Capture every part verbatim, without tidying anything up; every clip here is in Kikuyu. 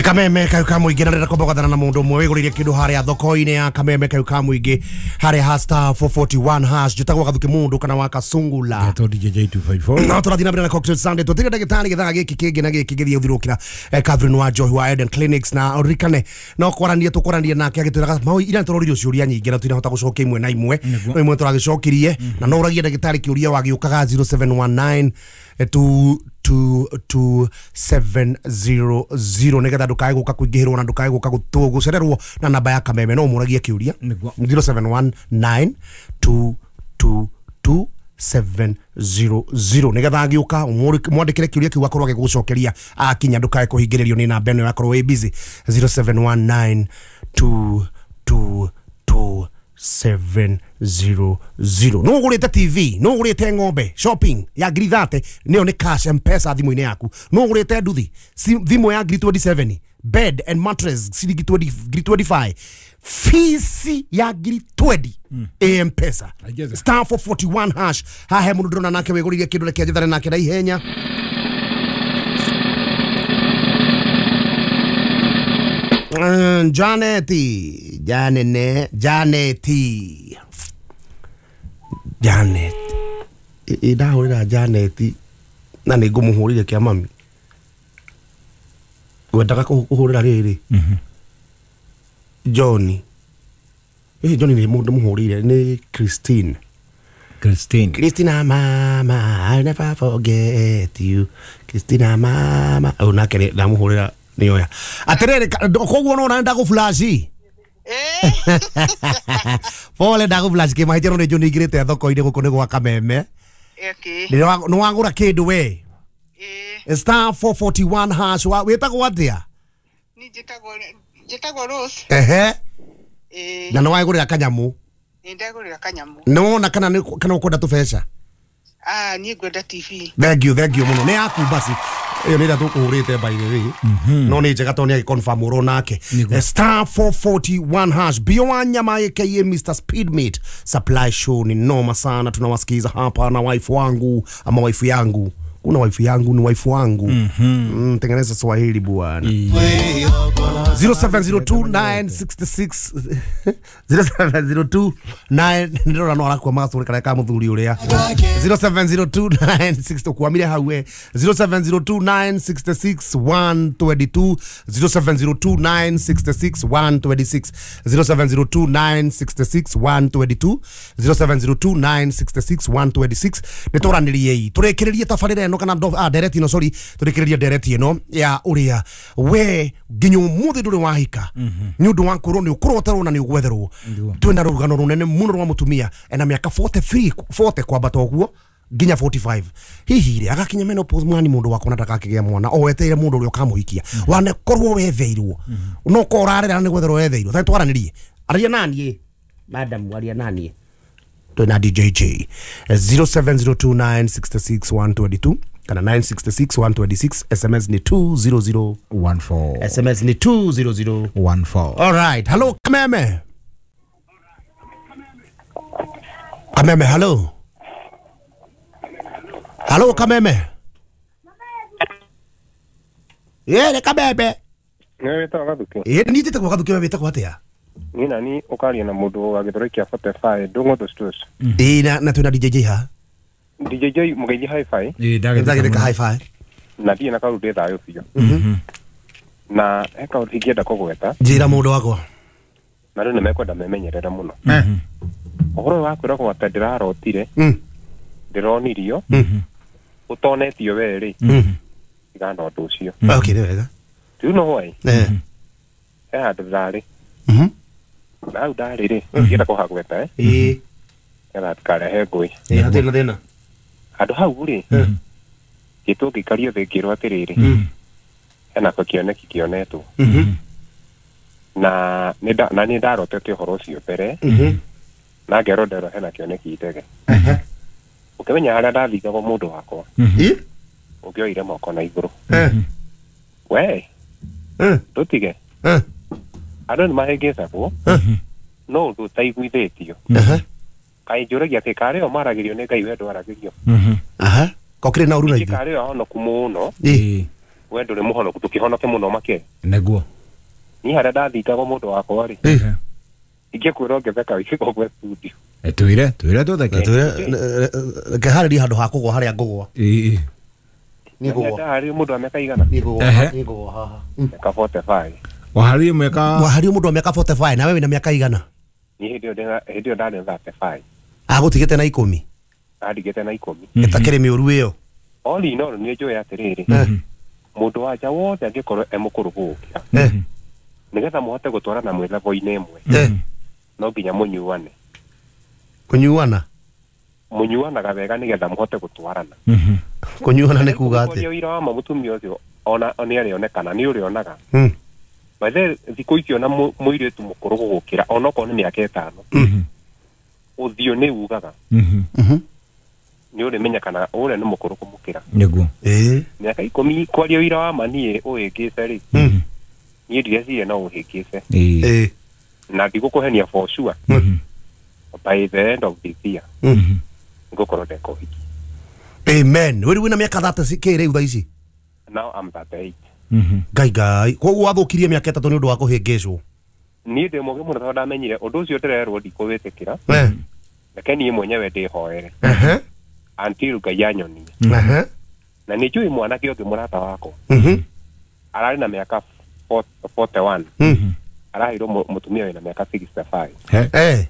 Kameme kayu ka muingi na ndĩrenda kwamba gwathana na mundu umwe wiguririe kindu haria thoko-inĩ ya Kameme kayu ka muingi haria ha star four forty-one hash njĩtagwo Gathuki mundu kana wa Kasungula Ngetwo D J J two five four. No tũrathiĩ na mbere na Cocktail Sunday tũtire ndagĩtarĩ gĩthaa gĩkĩ kĩngĩ na gĩkĩ gĩthiĩ ũthirũkĩra Catherine wa Njohi wa Eden Clinics na ũririkane no kwarania tũkwarania nake agĩtwĩraga mau ira tũroririo ciũria nyingĩ na tũtinahota gũcokia imwe na imwe no imwe tũragĩcokirie na no ũragie ndagĩtarĩ kĩũria wagĩũkaga zero seven one nine two two two seven zero zero nigetha ndukae guka kuingihirwo na ndukae guka gucererwo na namba ya Kameme no muragie kiuria zero seven one nine two two two seven zero zero nigetha agiuka mwandikire kiuria kiu akorwo agigucokeria akinya ndukae kuhingiririo ni namba ino yakorwo wi busy zero seven one nine two two two seven zero zero. No ugurite T V, no ugurite ng'ombe shopping ya ngiri thate niyo ni cash M-Pesa thimu-inĩ yaku. No ugurite nduthi thimu ya ngiri twenty-seven, bed and mattress ciringi ngiri twenty-five, fees ya ngiri twenty M-Pesa star four forty-one hash. Hahe mundu ndona nake wiguririe kindu reke njethane nake na ihenya. Mm, Janeti, Janene, Janeti, Janet. Ndahũrĩra Janeti na nĩ ngũmũhũrĩre kĩa mami. Ngwendaga kũhũrĩra rĩrĩ. Johnny. Eh, Johnny nĩ mũndũ mũhũrĩire nĩ Christine. Christine. Christina mama, I'll never forget you. Christina mama. Oh, nake ndamũhũrĩra nĩ oya. Atĩrĩrĩ koguo no na ndagũ flash. Eh. Pole ndagũ flash kĩ mahĩtia no nĩ njũ nĩingĩrĩte thoko-inĩ gũkũ nĩ gwa Kameme. Okay. Nĩ wagũra kĩndũ we. Eh. Star four forty-one hash wa wĩtagwo atĩa? Ni njĩtagwo njĩtagwo Rose. Ehe. Eh. Na nĩ wagũrĩra kanyamũ. Nĩ ndagũrĩra kanyamũ. Nĩ wona kana nĩ kana ũkwenda tũbeca? Ah, niĩ ngwenda T V. Thank you, thank you mũno. Nĩ yaku basi. Iyo nĩ ĩrĩa tũkũhũrĩte by the way. No nĩ njega tondũ nĩ agĩconfirm ũro nake. Star four forty-one hash. Bio wa nyama aka Mister Speedmate Supply Show ni noma sana, tunawasikiza hapa na wife wangu ama wife yangu. Kuna wife yangu ni wife wangu. Mm -hmm. Mm, tengeneza Swahili bwana. zero seven zero two nine six six zero seven zero two nine ndĩrona no arakua magatũrĩ karĩa ka mũthuri ũrĩa zero seven zero two nine six tũkwamire hau we zero seven zero two nine six six one two two zero seven zero two nine six six one two six zero seven zero two nine six six one two two zero seven zero two nine six six one two six nĩ tũranĩriei tũrĩkĩrĩrie tabarĩra ĩno kana ah ndereti ĩno sorry tũrĩkĩrĩrie ndereti ĩno ya ũrĩa we nginya ũmũthĩ ndũrĩ wahika nĩ ũndũ wa kũrwo nĩ ũkũroterwo na nĩ ũgwetherwo twĩna rũgano rũnene mũno rwa mũtumia ena mĩaka forty-three forty kwambata ũguo nginya forty-five hihi rĩ agakinya menopause mwani mũndũ wakwa na ndakakĩgĩa mwana o wetereire mũndũ ũrĩa ũkamũhikia wanekorwo wetheirwo no korwo ũrarĩra nĩ gwetherwo wetheirwo tondũ twaranĩrie aria naniĩ madam aria naniĩ twĩna D J J zero seven zero two nine six six one two two kana nine six six one two six S M S ni two zero zero one four S M S ni two zero zero one four. All right, hello Kameme. Kameme, hello. Hello Kameme. Yeah, le Kameme. Ni wetagwo Gathuki. Eh, ni njĩtagwo Gathuki we wetagwo atĩa? Ni nani ũkaria na mũndũ wa gĩthũri kĩa forty-five ndũng'ũtũ stores. Ĩĩ na na twĩna D J J ha. D J J mũgeithie hi-fi. Ĩĩ ndagĩtheka hi-fi. Na thiĩ na kaũndũ ndĩ thayũ biũ. Na he kaũndũ ingĩenda kũgweta. Njĩra mũndũ wakwa. Na rĩu nĩmekwenda memenyerere mũno. Ũhoro wa kwĩragwo atĩ ndĩrarotire. Ndĩronirio. Ũtonetio we rĩ. Tigana na ũndũ ũcio. Okay, nĩ wega. Do you know why? Eh. He handũ ndarĩ. Mhm. Na hau ndarĩ rĩ, ingĩenda kũhagweta eh. Ĩĩ. Nĩgetha hatikarehe ngũĩ. Ĩĩ hatirĩ na thĩna. Handũ hau rĩ, ngĩtwo ngĩikario thĩ ngĩrwo atĩrĩrĩ, hena kĩoneki kĩonetwo. Na nĩ na nĩ ndarotete ũhoro ũcio mbere. Na ngerwo nderwo hena kĩoneki itege. Ũkĩmenya harĩa ndathigagwo mũndũ wakwa. Ũngĩoire moko na igũrũ. We. Ndũtige. Andũ nĩ mahĩngĩcagwo no ũndũ ũtaiguithĩtio. Kaĩ njũragia atĩ karĩ o maragĩrio nĩ Ngai we ndwaragĩrio. Aha. Kokĩrĩ na ũru na ithuĩ. Ithuĩ. Karĩ o ahonoku mũno. Ĩĩ. We ndũrĩ mũhonoku tũkĩhonoke mũno makĩria. Nĩguo. Niĩ harĩa ndathingagwo mũndũ wakwa rĩ. Ingĩkwĩra ũngĩtheka wĩkĩgwo studio. Eh twĩre twĩre tũtheke. Twĩre reke harĩrie handũ ha kũgwa harĩa ngũgwa. Ĩĩ. Niĩ ngũgwa. Ndaharĩrio mũndũ wa mĩaka igana? Niĩ ngũgwa niĩ ngũgwa haha. Mĩaka forty-five. Waharĩrio mĩaka waharĩrio mũndũ wa mĩaka forty-five na wewe wĩna mĩaka igana? Niĩ hĩndĩ ĩyo hĩndĩ ĩyo ndarĩ thirty-five. Agũtigĩte na ikũmi? Andigĩte na ikũmi. Ĩtakĩrĩ mĩũru ĩyo. All in all nĩ njũĩ atĩrĩrĩ. Mũndũ wa nja wothe angĩkorwo e mũkũrũ gũgũkĩra. Nĩgetha mũhote gũtwarana mwĩ level-inĩ ĩmwe. No nginya mũnyuane. Kũnyuana? Mũnyuanaga wega nĩgetha mũhote gũtwarana. Kũnyuana nĩ kuga atĩ? Ũrĩa ũira wa ma mũtumia ũcio ona nĩ arĩonekana nĩ ũrĩonaga. By the thikũ ici ona mũirĩtu mũkũrũ gũgũkĩra onokorwo nĩ mĩaka ĩtano. Ũthiũ nĩ ugaga. Nĩ ũrĩmenya kana ũrĩa nĩ mũkũrũ kũmũkĩra. Nĩguo. Ĩĩ. Mĩaka ikũmi kwaria ũira wa ma niĩ ũhĩngĩce rĩ. Niĩ ndireciria no ũhĩngĩce. Ĩĩ. Na ndigũkũhenia for sure. By the end of this year. Ngũkorwo ndeka ũhiki. Amen. Wĩrĩ wĩna mĩaka thirty kĩ rĩu thaa ici? Now I'm thirty-eight. Ngai ngai. Koguo wathũkirie mĩaka ĩtatũ nĩ ũndũ wa kũhĩngĩcwo? Niĩ ndĩ mũgĩ mũno tondũ ndamenyire ũndũ ũcio ndĩrerwo ndikũwĩtĩkĩra. Reke niĩ mwenyewe ndĩhoere. Until Ngai anyonie. Na nĩ njũĩ mwanake ũngĩ mũrata wakwa. Ararĩ na mĩaka forty-one. Araheirwo mũtumia wĩna mĩaka sixty-five. Eh.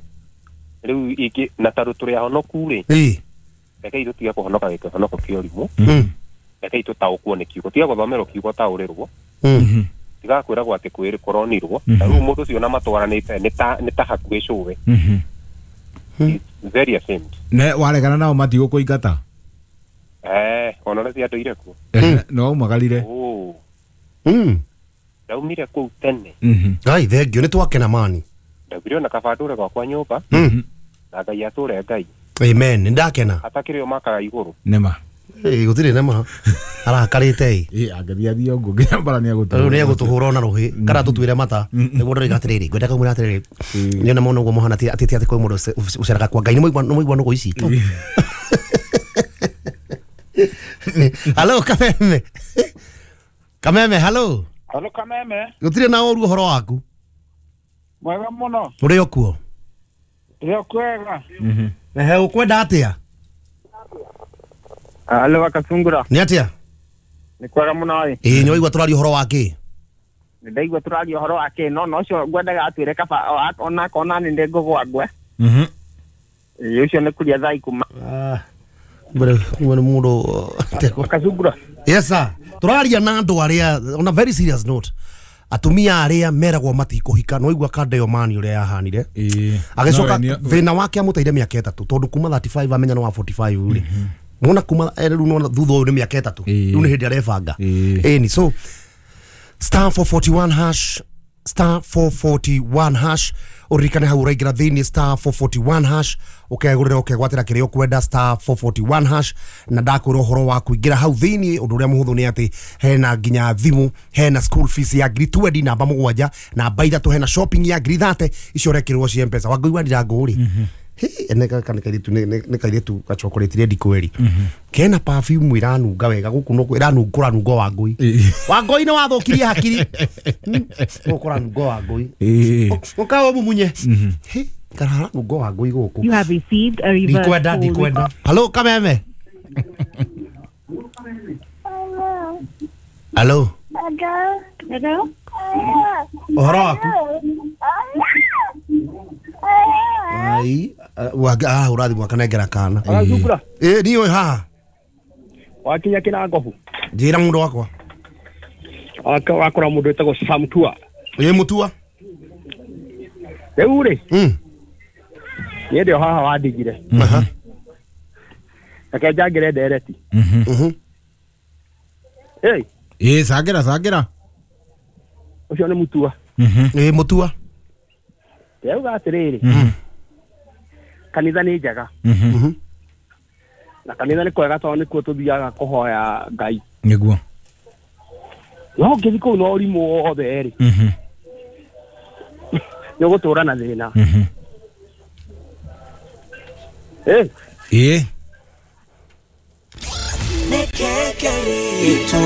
Rĩu ingĩ na tondũ tũrĩ ahonoku rĩ. Ĩĩ. Rekei tũtige kũhonoka gĩkĩhonoko kĩa ũrimũ. Rekei tũtaũkwo nĩ kiugo. Tiga gũthomerwo kiugo taũrĩrwo. Tiga kwĩragwo atĩ kwĩrĩ kũronirwo. Na rĩu mũndũ ũcio ona matwaranĩte nĩ ta nĩ ta hakuhĩ cũwe. Very ashamed. Ne waregana nao matigũkũingata? Eh, ona ũrĩa ciandũire kuo. No waumagarire. Oh. Mm. Ndaumire kũu tene. Ngai thengio nĩ twakena mani. Ndaugire ona kaba ndũre gwakwa nyũmba. Na Ngai atũre Ngai. Amen. Nĩ ndakena. Atakĩrĩ o makaga igũrũ. Nĩma. Ĩĩ gũtirĩ nĩma. Arakarĩte ĩ. Ĩ angĩthiĩ athiĩ ũguo nginya mbara nĩ egũtũhũra. Rĩu nĩ egũtũhũra ona rũhĩ kana tũtuĩre mata. Nĩguo ndĩroiga atĩrĩrĩ ngwenda kũmwĩra atĩrĩrĩ. Nĩona mũno ũguo mũhana atĩ atĩ kwĩ mũndũ ũceraga kwa Ngai nĩ mũigua nĩ mũigua nũgũ ici. Halo Kameme. Kameme halo. Halo Kameme. Gũtirĩ na ũru ũhoro waku? Mwega mũno. Ũrĩ o kuo? Ndĩ o kwega. Ehe ũkwenda atĩa? Halo Wakasungura. Nĩ atĩa? Nĩ kwega mũno ĩ. Ĩĩ nĩ waigua tũraria ũhoro wa kĩ? Nĩ ndaigua tũraria ũhoro wa kĩ no no ũcio ngwendaga atwĩre kaba ona kona nĩ ndĩ ngũgwa ngwe. Mhm. Ĩĩ ũcio nĩ kũria thaa ikũmi. Ah. Mbere mbere mũndũ Wakasungura. Yes sir. Tũraria na andũ arĩa on a very serious note. Atumia arĩa meragwo matikũhika no igua kanda ĩyo mani ũrĩa yahanire. Agĩcoka thĩna wake amũteire mĩaka ĩtatũ tondũ kuma thirty-five amenya no wa forty-five rĩ. Nona kuma rĩu nona thutha ũyũ nĩ mĩaka ĩtatũ. Rĩu nĩ hĩndĩ arebanga. Ĩni so star four forty-one hash star four forty-one hash ũririkane hau ũraingĩra thĩinĩ star four forty-one hash ũkegũrĩra ũkegwatĩra kĩrĩa ũkwenda star four forty-one hash na ndakwĩra ũhoro wa kũingĩra hau thĩinĩ ũndũ ũrĩa mũhũthũ nĩ atĩ hena nginya thimũ hena school fees ya ngiri twenty namba mũgwanja namba ithatũ hena shopping ya ngiri thate icio ũrekĩrwo cia M-Pesa Wangũi wa Ndirango rĩ nĩ kairĩtu nĩ kairĩtu gachokorĩtire ndikweri kena perfume iranunga wega gũkũ no ĩranungũra nungo Wangũi Wangũi nĩ wathũkirie hakiri gũkũra nungo Wangũi ũka ũmumunye karahara nungo Wangũi gũkũ. You have received a reverse ndikwenda ndikwenda. Hello Kameme. Hello. Hello. Ũhoro waku? Ai ah urathi mwakanengera kana. Wakasungura. Ĩ niĩ ũyũ haha. Wakinya kĩrangobu. Njĩra mũndũ wakwa. Wakora mũndũ wĩtagwo Sam Tua. Ĩ Mutua. Rĩu rĩ. Mm. Niĩ ndĩ o haha wandigire. Aha. Reke njangĩre ndereti. Mhm. Ĩ. Ĩ cangĩra cangĩra. Ũcio nĩ Mutua. Mhm. Ĩ Mutua. Ndĩrauga atĩrĩrĩ. Kanitha nĩ njega. Mhm. Na kanitha nĩ kwega tondũ nĩkuo tũthiaga kũhoya Ngai. Nĩguo. No ũngĩthiĩ kũu na ũrimũ wothe rĩ. Mhm. Nĩ ũgũtũra na thĩna. Mhm. Ĩ. Ĩ. Nĩkĩkĩritũ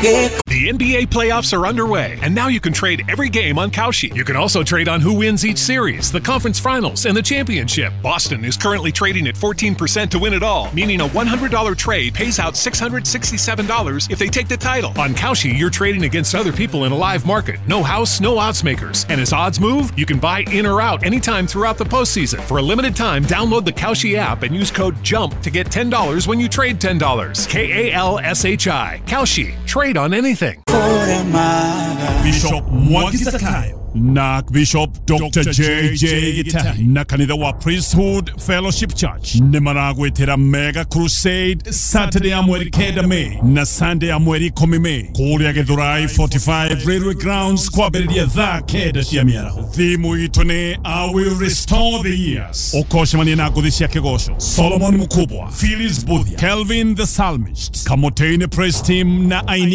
The N B A playoffs are underway, and now you can trade every game on Kalshi. You can also trade on who wins each series, the conference finals, and the championship. Boston is currently trading at fourteen percent to win it all, meaning a one hundred dollar trade pays out six hundred sixty-seven dollars if they take the title. On Kalshi, you're trading against other people in a live market. No house, no odds makers. And as odds move, you can buy in or out anytime throughout the postseason. For a limited time, download the Kalshi app and use code JUMP to get ten dollars when you trade ten dollars. K A L S H I. Kalshi. Trade on anything. Bishop Mwangi Zakayo na Bishop Doctor J J Gitari na kanitha wa Priesthood Fellowship Church nĩ maragwĩtĩra Mega Crusade Saturday ya mweri kenda May na Sunday ya mweri ikũmi May kũrĩa Githurai forty-five Railway Grounds kwambĩrĩria thaa kenda cia mĩaraho. Thimu itũ nĩ I will restore the years. Ũkocemania na ngũthi cia kĩgoco Solomon Mukubwa, Phyllis Buthia, Kelvin the Psalmist, Kamotene Praise Team na aini